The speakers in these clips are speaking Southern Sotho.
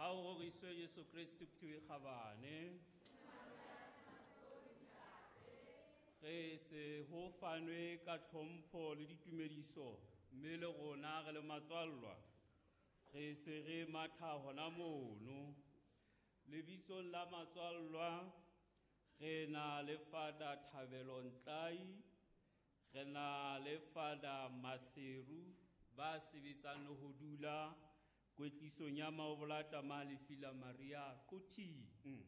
Ha o roriswe Jesu Kreste phutheho e kgabane. Re se ho fanwe ka tlhompho le ditumediso mme le rona re le matswallwa. Re se re matha hona mono. Lebitsong la matswallwa re na le Father Thabelo Ntlai, re na le Father Maseru ba sebetsang le ho dula kwetlisong ya Maobolata Malefila Maria Quthing.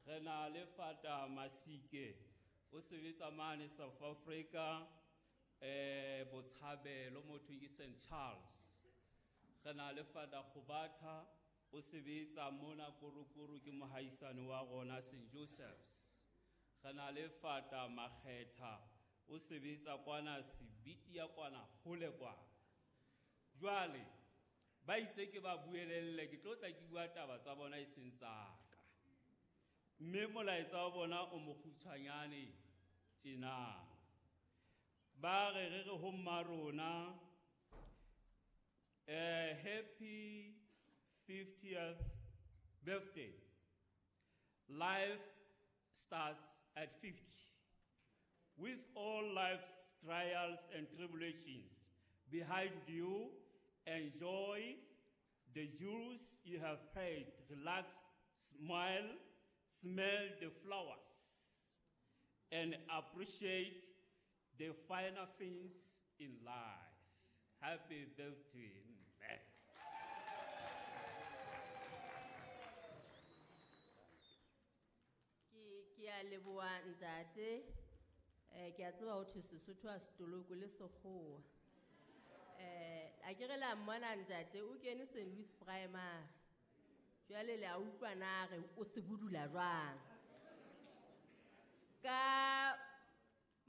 Re na le Father Masike o sebetsa mane South Africa, Botshabelo motho ke St Charles. Re na le Father Kgobatha o sebetsa mona Korokoro ke mohaisane wa rona St Joseph's. Re na le Father Makgetha o sebetsa kwana Sebiti ya kwana hole kwana. Jwale ba itse ke ba buelelle, ke tlo tla ke bua taba tsa bona e seng tsa ka. Mme molaetsa wa bona o mokgutshwanyane tjena. Ba re re re ho mma rona, happy 50th birthday. Life starts at 50. With all life's trials and tribulations behind you, enjoy the jewels you have paid. Relax, smile, smell the flowers, and appreciate the finer things in life. Happy birthday, man. Ke a leboha ntate. Ke a tseba ho thwe Sesotho ha se tolokwe le Sekgowa. A ke re la mmona ntate o kene Saint Louis Primary. Jwale le a utlwa na re o se budula jwang. Ka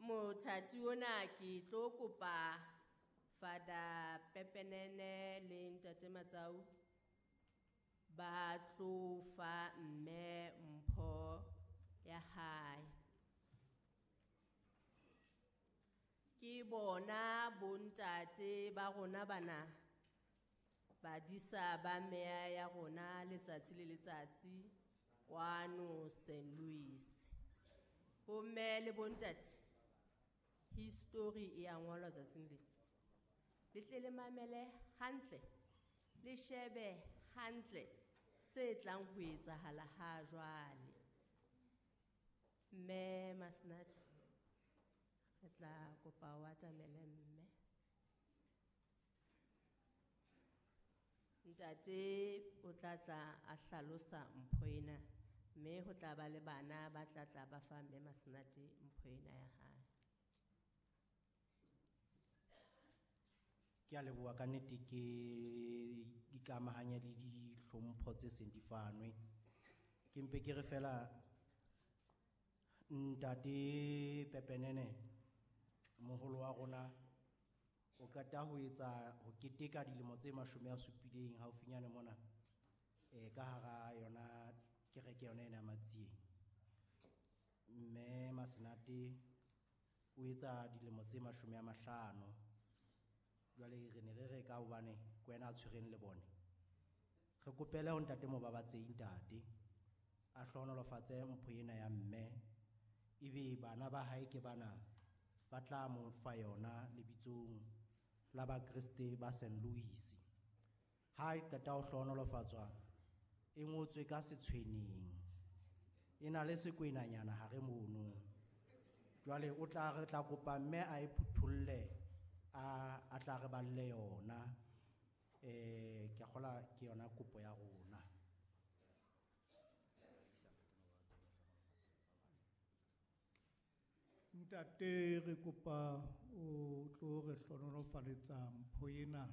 mothati ona ke tlo kopa Father Pepenene le Ntate Matsau ba tlo fa mme mpho ya hae. Ke bona bontate ba rona bana badisa ba meya ya rona letsatsi le letsatsi kwano Saint Louis. Bomme le bontate, history e a ngolwa tsatsing le. Le tle le mamele hantle, le shebe hantle se tlang ho etsahala ha jwale. Mme Masenate, re tla kopa o atamele mme. Ntate o tla tla a hlalosa mpho ena, mme ho tla ba le bana ba tla tla ba fa mme Masenate mpho ena ya hae. Ke a leboha ka nnete, ke ikamahanya le dihlompho tse seng di fanwe. Ke mpe ke re fela Ntate Pepenene, moholo wa rona, o qeta ho etsa ho keteka dilemo tse 70 haufinyane mona, ka hara yona kereke yona ena ya Matsieng. Mme Masenate o etsa dilemo tse 50. Jwale re ne re re ka hobane ke wena a tshwereng le bone. Re kopele ho ntate Mobabatsehi ntate a hlohonolofatse mpho ena ya mme, ebe bana ba hae ke bana ba tla mo fa yona lebitsong la Bakreste ba Saint Louis. Ha e qeta ho hlohonolofatswa, e ngotswe ka setshweneng, e na le sekwenanyana hare mono. Jwale o tla re tla kopa mme a e phutholle, a tla re balle yona. Ke a kgolwa ke yona kopo ya rona. Ntate, re kopa o tlo re hlohonolofaletsa mpho ena